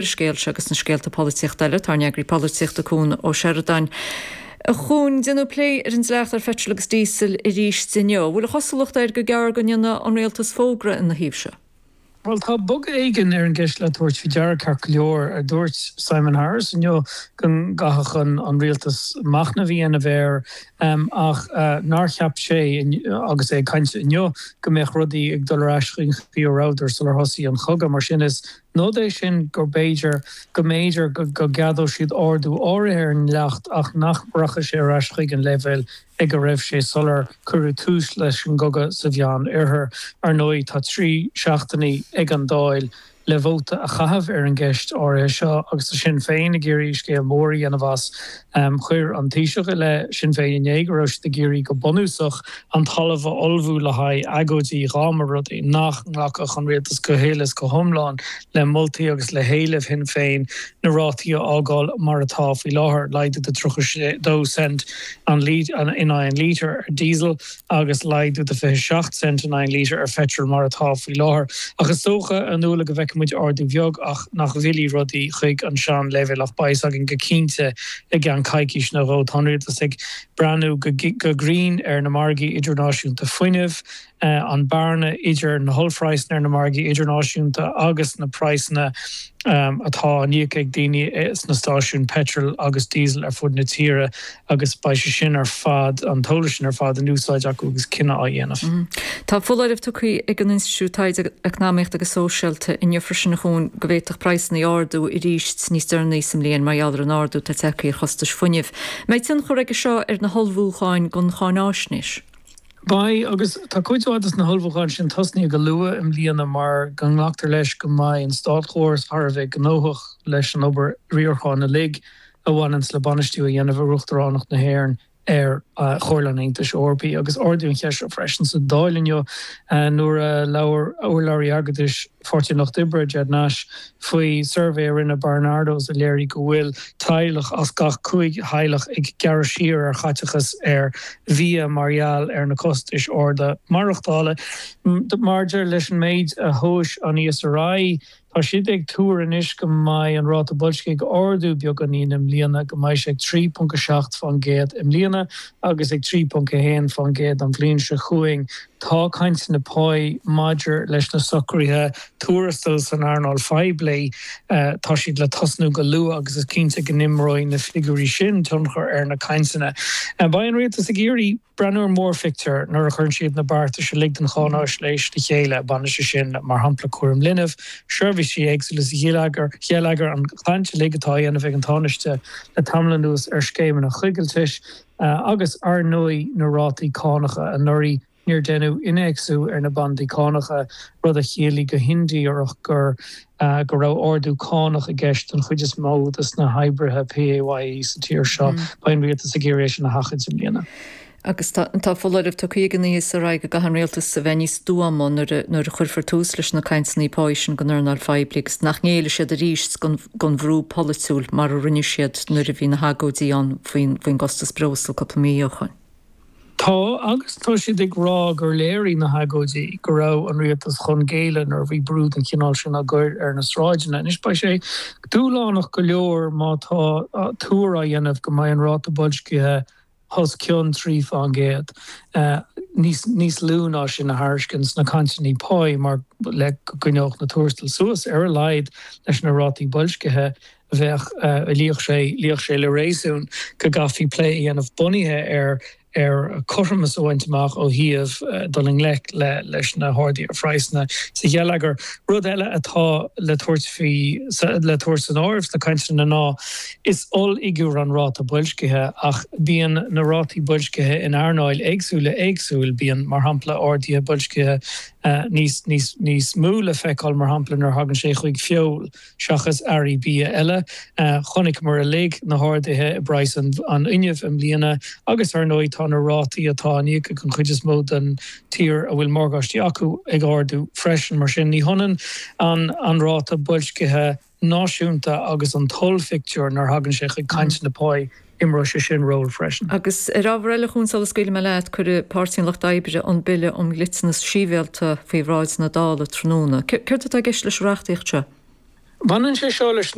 Ar an scéal seo agus na scéalta polaitíochta eile, tá ár n-eagraí polaitíochta Cuan Ó Seireadáin. A Chuain, déanadh plé ar an dleacht ar pheitreal agus díosal arís inniu. An bhfuil an chosúlacht air gur gearr go ndéanfaidh an Rialtas fógra ina thaobh seo? Bhuel, tá bogadh éigin ar an gceist le tabhairt faoi deara, ceart go leor. Dúirt Simon Harris inniu go gcaithfeadh an Rialtas machnamh a dhéanamh air ach nár cheap sé, agus é ag caint inniu, go mbeadh rudaí ag dul ar ais chuig an chaoi a rabhadar sular thosaigh an cogadh. Mar sin, is Nod é sin gur b'fhéidir, go mb'fhéidir go gceadódh siad ardú áirithe ar an ndleacht ach nach rachadh sé ar ais chuig an leibhéal ag a raibh sé sular cuireadh tús leis an gcogadh sa Mheán Oirthear. Ar ndóigh, tá 3 seachtainí ag an Dáil le vóta a chaitheamh ar an gceist áirithe seo agus tá Sinn Féin ag iarraidh scéal mór a dhéanamh as. Chuir an Taoiseach i leith Sinn Féin inné go raibh siad ag iarraidh go bunúsach an talamh a ullmhú le haghaidh agóidí dhá mba rud é nach nglacfadh an rialtas go huile is go hiomlán le moltaí agus le héilimh Shinn Féin na rátaí a fhágáil mar atá faoi láthair, laghdú de 32 cent in aghaidh an lítir ar diesel agus laghdú de 27 cent in aghaidh an lítir ar pheitreal mar atá faoi láthair. Ach is dócha, a Nuala, go bhfeicfidh muid ardú bheag ach nach bhfillfidh rudaí chuig an sean-leibhéal ach beidh a fhios againn go cinnte i gceann coicís nó dhó. Tá an rialtas ag breathnú go grinn ar na margaí idirnáisiúnta fuinnimh, an bearna idir na hollphraghsanna ar na margaí idirnáisiúnta agus na praghsanna atá á n-íoc ag daoine sna stáisiúin peitril agus díosail ar fud na tíre agus beidh sé sin ar fad, an t-eolas sin ar fad in úsáid acu agus cinneadh á dhéanamh. Tá foláireamh tugtha ag an Institiúid Taighde Eacnamaíochta agus Sóisialta inniu freisin, a Chuain, go bhféadfadh praghsanna ardú arís níos deireanaí sa mbliain mar gheall ar an ardú atá tagtha ar chostais fuinnimh. Mbeidh tionchar aige seo ar na hullmhúcháin don cháináisnéis? Beidh, agus tá cuid mhaith de na hullmhúcháin sin tosnaithe go luath i mbliana mar go nglactar leis go mbeidh an státchóras thar a bheith gnóthach leis an obair riaracháin uilig a bhaineanns le bainistiú a dhéanamh ar Uachtaránacht na hÉireann ar Chomhairle an Aontais Eorpaigh. Agus ardaíodh an cheist seo freisin sa Dáil inniu nuair a labhair urlabhraí airgeadais Pháirtí an Lucht Oibre, Ged Nash, faoi suirbhé a rinne Barnardo's a léirigh go bhfuil teaghlach as gach 5 theaghlach ag gearradh siar ar chaiteachas ar bhia mar gheall ar na costais arda maireachtála. Maidir leis an méid a thomhais an ESRI, tá siad ag tuar anois go mbeidh an ráta boilscithe ag ardú beagáinín i mbliana, go mbeidh sé ag 3.7% i mbliana agus ag 3.1% an bhliain seo chugainn. Tá cainteanna páí maidir leis na socruithe tuarastail san earnáil phoiblí, tá siad le tosnú go luath agus is cinnte go n-imreoidh na figiúirí sin tionchar ar na cainteanna. Beidh an Rialtas ag iarraidh breathnú ar mhórphictiúr nuair a chuireann siad na beartais uilig don cháináisnéis le chéile, baineann sé sin mar shampla cúram linbh, seirbhísí éagsúla sa gheilleagar, an chaint uilig atá á dhéanamh ag an Tánaiste le tamall anuas ar scéimeanna coigiltis. Agus, ar ndóigh, na rátaí cánacha. Anuraidh, níor deineadh innéacsú ar na bandaí cánacha, rud a chiallaigh go hindíreach gur go raibh ardú cánach i gceist don chuid is mó de na hoibrithe PAYE sa tír seo. Beidh an rialtas ag iarraidh é sin a sheachaint i mbliana. Agus tá foláireamh tugtha ag an ESRI go gcaithfidh an rialtas a bheith níos stuama nuair a chuirfear tús leis na cainteanna páí sin don earnáil phoiblí agus nach ngéillfidh siad arís don bhrú polaitiúil mar a rinne siad nuair a bhí na hagóidí ann faoin gcostas breosla cúpla mí ó shoin. Tá, agus tá siad ag rá gur léirigh na hagóidí go raibh an rialtas chun géilleadh nuair a bhí brú den chineál sin á gcur ar na sráideanna. Anois beidh sé dúshlánach go leor má tá tuar á dhéanamh go mbeidh an ráta boilscithe os cionn 3%, níos níos lú ná sin a thairiscint sna cainteanna páí mar le go gcoinneodh na tuarastail suas ar a laghad leis na rátaí boilscithe bheadh luífeadh sé luífeadh sé le réasún go gcaithfí plé a dhéanamh bunaithe ar ar chothromas a bhaint amach ó thaobh dul i ngleic le leis na harduithe ar phraghsanna sa gheilleagar. Rud eile atá le tabhairt faoi le tabhairt san áireamh sna cainteanna ná Is ollfhigiúr an ráta boilscithe, ach bíonn na rátaí boilscithe in earnáil éagsúla éagsúil. Bíonn, mar shampla, arduithe boilscithe níos níos níos mó le feiceáil, mar shampla, nuair a thagann sé chuig feoil seachas earraí bia eile. Chonaiceamar uilig na harduithe i bpraghas an fhuinnimh i mbliana agus, ar ndóigh, tá na rátaí atá á n-íoc ag an chuid is mó den tír a bhfuil morgáistí acu ag ardú freisin. Mar sin, ní hionann an ráta boilscithe náisiúnta agus an t-ollphictiúr nuair a thagann sé chuig cainteanna páí, imreoidh sé sin ról freisin. Agus ar ábhar eile, a Chuain, sula scaoilfidh mé leat, cuirfidh Páirtí an Lucht Oibre an Bille um Dhliteanas Sibhialta faoi bhráid na Dála tráthnóna. Céard atá i gceist leis an reachtaíocht seo? Baineann sé seo leis.